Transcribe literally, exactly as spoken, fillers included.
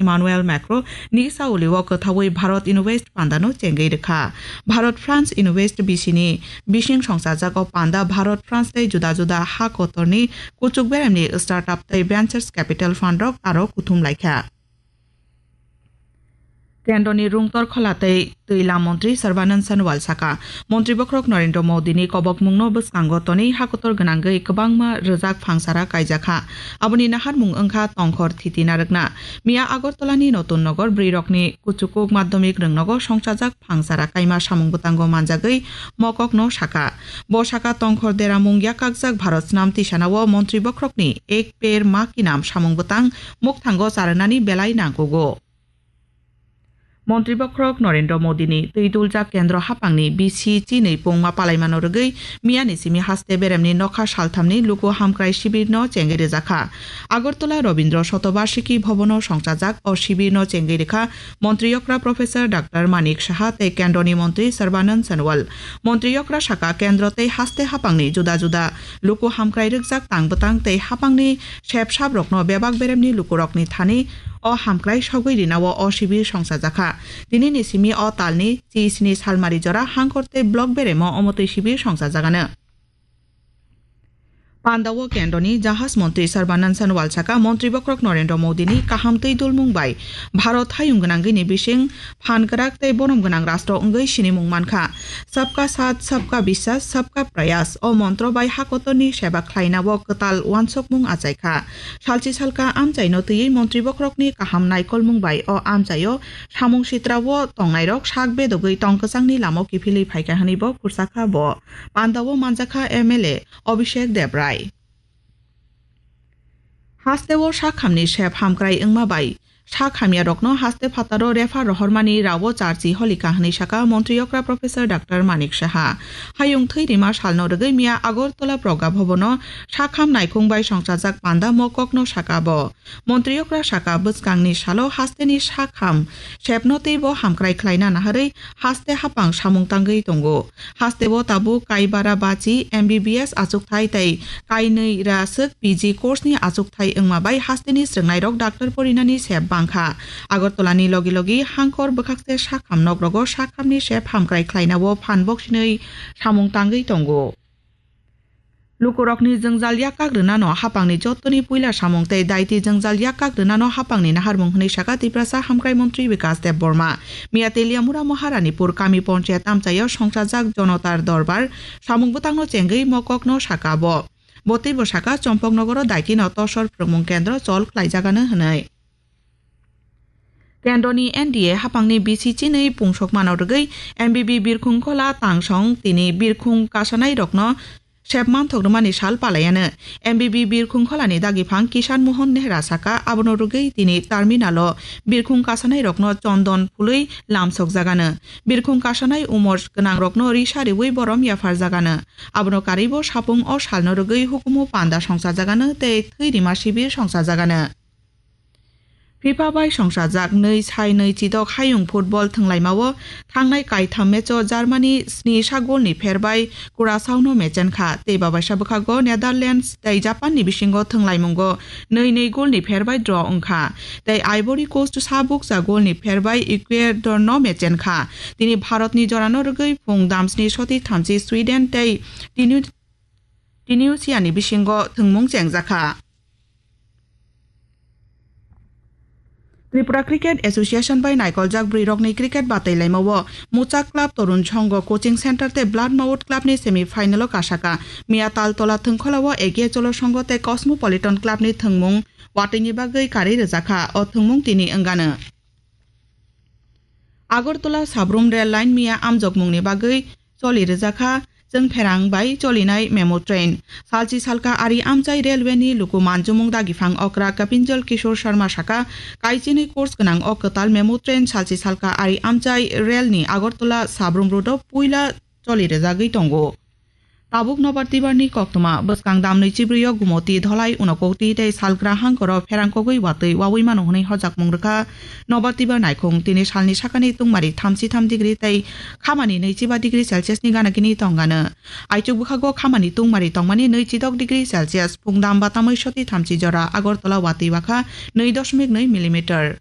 Emmanuel Macron ni sauli o kwthaui Bharat Invest panda no chengwi rwkha. Bharat France Invest B C ni bising songchajak o panda Bharat France tei juda juda ha kotor ni kuchuk berem ni startup tei ventures capital fund rok aro kuthum laikha. Kendroni rungtor khola tei twi lam montri Sarbanand Sonowal saka, montri bokhorok Narendra Modi ni kobokmung no bwskango tonwi hakotor gwnangwi kwbangma rwjak phangsara kaijakha. Aboni naharmung wngkha tongkhor thiti narwkna. Miya Agartala ni Notun Nogor bwrwi rokni kuchukuk madhyamik rwngnogo songchajak phangsara kaima samung bwtango manjagwi mokok no saka. Bo saka tongkhor deramung yakakjak Bharat snam tisanao montri bokhorokni Ek Ped Maa Ki Naam samung bwtang mukthango charwnani belai nangkugo. Montri bokhorok Narendra Modi ni twi duljak kendro haphangni bisi chinwi pungma palaimano rwgwi miyani simi haste beremni nokha salthamni luku hamkrai shibirno chengwi rwjakha. Agartala Rabindra Shatobarshiki Bhavan o songchajak o shibirno chengwi rwkha montri okra Professor Doctor Manik Saha tei kendroni montri Sarbanand Sonowal. Montri okra saka kendro tei haste haphangni juda juda luku hamkrai rwkjak tang bwtang tei haphangni sep saprokno bebak beremni lukurokni thani o hamkrai sogwi rinao o shibir songchajakha. Tinini simi o talni chi sini salmari jora hangkor tei block beremo omotwi shibir songchajagano. Pandao kendroni jahaj montri Sarbanand Sonowal saka, montri bokhorok Narendra Modi ni kaham twi dulmung bai Bharat hayung gwnangwini bising phan kwrak tei borom gwnang rastro wngwi sinimung mankha. Sabka Saath, Sabka Biswas, Sabka Prayas o montro bai hakotorni seba khlainao kwtal uansukmung achaikha. Salchi salka amchaino twiwi montri bokhorokni kaham naikolmung bai o amchaio samung sitrao tongnairok sak bedogwi tong kwchangni lama kiphilwi phaikha hwnwibo khursakha bo. Pandao manjakha M L A Abhishek Debrai. Hasteo sakhamni sep hamkrai wngma bai sak hamyarokno haste phataro refer rohormani rao charchi holika hwnwi saka montri okra Professor Doctor Manik Saha. Hayung thwi rima salno rwgwi miya Agartala Pragya Bhavan o sakham naikhung bai songchajak panda mokokno saka bo. Montri okra saka, bwskangni salo hasteni sakham sepno teibo hamkrai khlaina naharwi haste haphang samung tangwi tongo. Hasteo tabuk kaibara bachi M B B S achukthai tei kainwi ra swk P G course ni achukthai wngma bai hasteni srwngnairok doctor porinani sep bangkha. Agartala ni logi logi hangkor bwkhakse sakham nokrogo sakhamni sep hamkrai khlainao phan boksinwi samung tangwi tongo. Lukurokni jwngjal yakkak rwnano haphangni jottoni puila samung tei daiti jwngjal yakkak rwnano haphangni naharmung hwnwi saka Tiprasa Hamkrai Montri Bikas Debbarma. Miya Teliamura Maharanipur kami ponchayat amchaio songchajak Jonotar Dorbar samung bwtangno chengwi mokokno saka bo. Bo teibo saka Chompoknogoro daitino tosor phrwngmung kendro chol khlaijagano hwnwi. Kendroni N D A haphangni bisi chinwi pungsokmano rwgwi M B B birkhung khola tangsong tini birkhung kasanairokno sep manthok rwmani sal palaiano. M B B birkhung kholani dagiphang Kishan Mohan Nehra saka, abono rwgwi tini terminalo birkhung kasanairokno chondon phului lamsokjagano. Birkhung kasanai umor gwnangrokno risa riwi borom yapharjagano. Abono karwibo sapung o salno rwgwi hukumu panda songchajagano tei thwi rima sibir songchajagano. FIFA bai songchajak nwi sai nwi chidok hayung football thwnglaimao thangnai kaitham matcho Germany sni sa golni pher bai Curaçaono mechenkha tei babaisa bwkhago Netherlands tei Japanni bisingo thwnglaimungo nwi nwi golni pher bai draw wngkha tei Ivory Coast sa bukcha golni pher bai Ecuadorno mechenkha. Tini Bharatni jorano rwgwi phung damsni soti thamchi Sweden tei Tinu-, Tunisiani bisingo thwngmung chengjakha. Tripura Cricket Association bai naikoljak bwrwirokni cricket batailaimao Muchak Club Torun Songho Coaching Center tei Blood Mouth Club ni semi final o kasaka. Miya Taltola Thwngkhwlao Ege Cholo Songho tei Cosmopolitan Club ni thwngmung watwini bagwi karwi rwjakha. O thwngmung tini wngano. Agartala Sabrum Rail Line miya amjokmungni bagwi choli rwjakha, chwng pherang bai cholinai memo train. Salchi salka ari amchai railway ni luku manjumung dagiphang okra Kapinjal Kishore Sharma saka, kaichinwi course gwnang o kwtal memo train salchi salka ari amchai rail ni Agartala Sabrum road o puila choli rwjagwi tongo. Tabuk nobar tibar ni koktwma, bwskang dam nwichibrwi o Gumoti, Dholai, Unakoti tei Salgra hangkoro pherang kogwi watwi wawi mano hwnwi hojakmung rwkha. Nobar tibar naikhung tini salni sakani tungmari thamchi tham degree tei khamani nwichiba degree Celsius ni gana gini tongano. Aichuk bwkhago khamani tungmari tongmani nwichidok degree Celsius, phungdam batamwi soti thamchi jora Agartala watwi wakha nwi dosmik nwi millimeter.